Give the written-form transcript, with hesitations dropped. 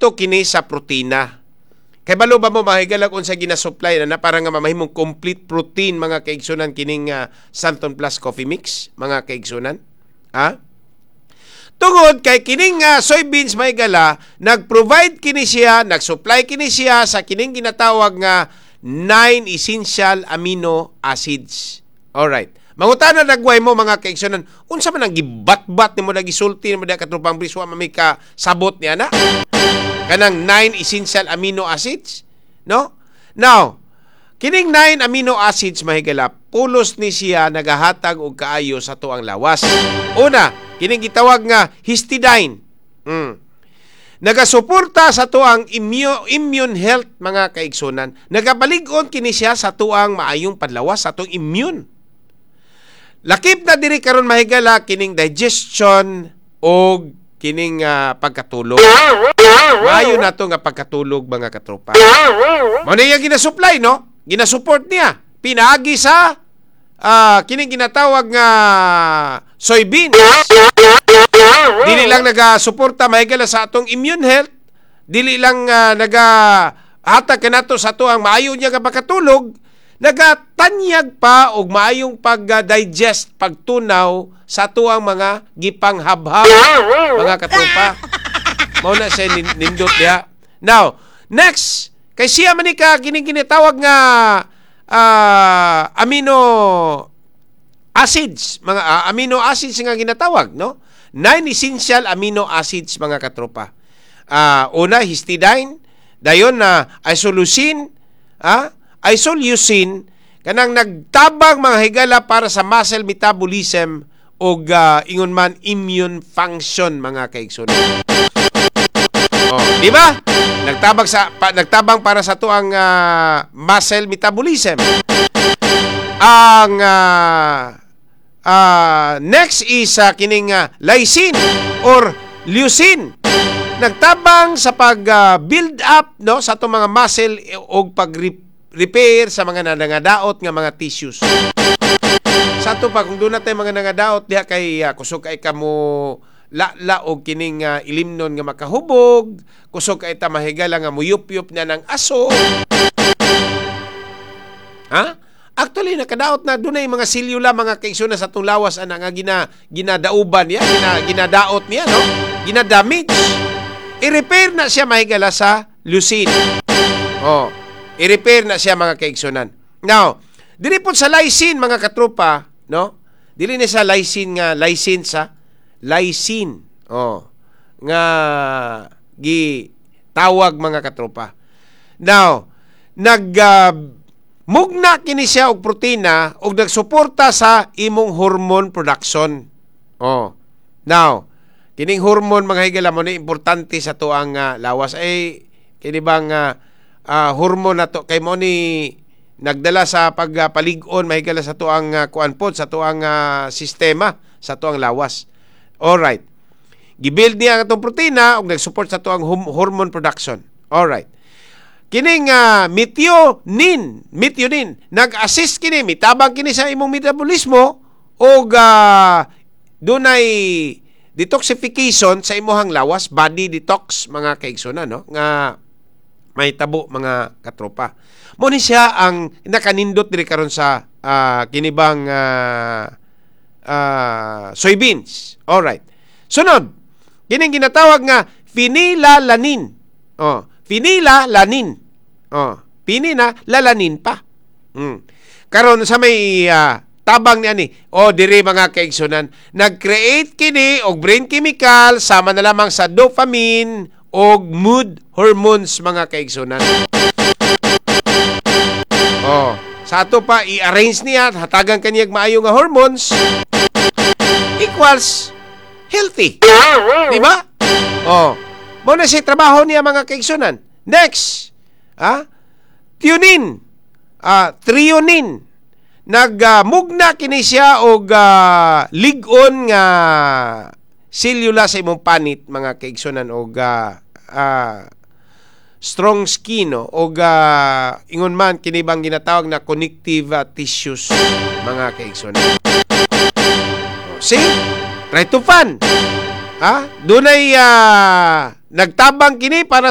Nakaapekto kini sa protina. Kay balo ba mo, mga higala, kung sa gina-supply na na para nga mamahimong complete protein, mga kaigsunan, kining Xanthone Plus Coffee Mix, mga kaigsunan? Ha? Tungod kay kining soybeans, mga higala, nag-provide kini siya, nag-supply kini siya sa kining ginatawag nga 9 essential amino acids. Alright. Mangutana nagway mo, mga kaigsunan, unsa man ang gibatbat nimo, nagisulti nimo diha, katropang Bris, wa man may ka sabot niya na? Kanang 9 essential amino acids, no? Now, kining 9 amino acids, mahigala, pulos ni siya nagahatag og kaayo sa tuang lawas. Una, kining gitawag nga histidine. Nagasuporta sa tuang immune health, mga kaigsunan. Nagabalig-on kini siya sa tuang maayong padlawas, sa tuang immune. Lakip na diri karon, mahigala, kining digestion og kining pagkatulog. Maayo na to nga pagkatulog, mga katropa. Mao na iyang ginasupply, no? Ginasupport niya. Pinaagi sa kining ginatawag nga soybeans. Dili lang nagasuporta, mahigala, sa atong immune health, dili lang nagahatag kanato sa ato ang maayo niya nga pagkatulog, nagatanyag pa og maayong pag-digest, pagtunaw sa ato ang mga gipanghabhab, mga katropa. Mao na siya nindot diha. Now, next, kay siya man ni ka kining ginatawag nga amino acids, mga amino acids nga ginatawag, no? Nine essential amino acids, mga katropa. Una, histidine, dayon na isoleucine, isoleucine kanang nagtabang, mga higala, para sa muscle metabolism og ingon man immune function, mga kaigsunan. Oh, di ba? Nagtabang para sa tuang muscle metabolism. Ang next is kining lysine or leucine. Nagtabang sa pag build up, no, sa atong mga muscle og pag repair sa mga nangadaot nga mga tissues. Sa ato pa kung doon na tayo mga nangadaot diha kay kusog kay kamo la-la og kining ilimnon nga makahubog, kusog kay ta mahigala nga muyup-yup na ng aso. Ha? Actually, nakadaot na dunay mga silyula, mga kaigsunan, sa atong lawas ana nga ginadauban niya, ginadaot niya, no? Ginadamage. I-repair na siya, mahigala, sa leucine. Oh, i-repair na siya, mga kaigsunan. Now, dili po sa lysine, mga katropa, no? Dili ni sa lysine nga lysine sa lysine. Oh, nga gi tawag, mga katropa. Now, nag mugna kini siya og protina og nagsuporta sa imong hormone production. Oh. Now, kining hormone, mga higala, mo ni importante sa tuang lawas ay kini bang hormone na to kay mo ni nagdala sa pagpalig-on, mahigala, sa tuang kuan pod, sa tuang sistema, sa tuang lawas. Alright. Gibuild niya ang atong protina ug nagsupport sa tuang hormone production. Alright. Kining methionine, nag-assist kini, mitabang kini sa imong metabolismo og dunay detoxification sa imuhang lawas, body detox, mga kaigsunan, no? Nga may tabo, mga katropa. Mo ni siya ang nakanindot diri karon sa kinibang soybeans. Alright. Sunod, kining ginatawag nga phenylalanine. Oh, phenylalanine. Oh, pinina lalanin pa. Karon sa may tabang niya ni, oh, diri, mga kaigsunan, nag-create kini og brain chemical sama na lamang sa dopamine og mood hormones, mga kaigsunan. Oh, sa ato pa i-arrange niya, hatagan kaniya maayo nga hormones equals healthy. Di ba? Oh. Mo na siya trabaho niya, mga kaigsunan. Next, threonine. Threonine. Nagmugna kini siya og lig-on nga selula sa imong panit, mga kaigsunan, og strong skin, no? Og ingon man kini bang ginatawag na connective tissues, mga kaigsunan. Oh, see? Tryptophan. Ha? Dunay nagtabang kini para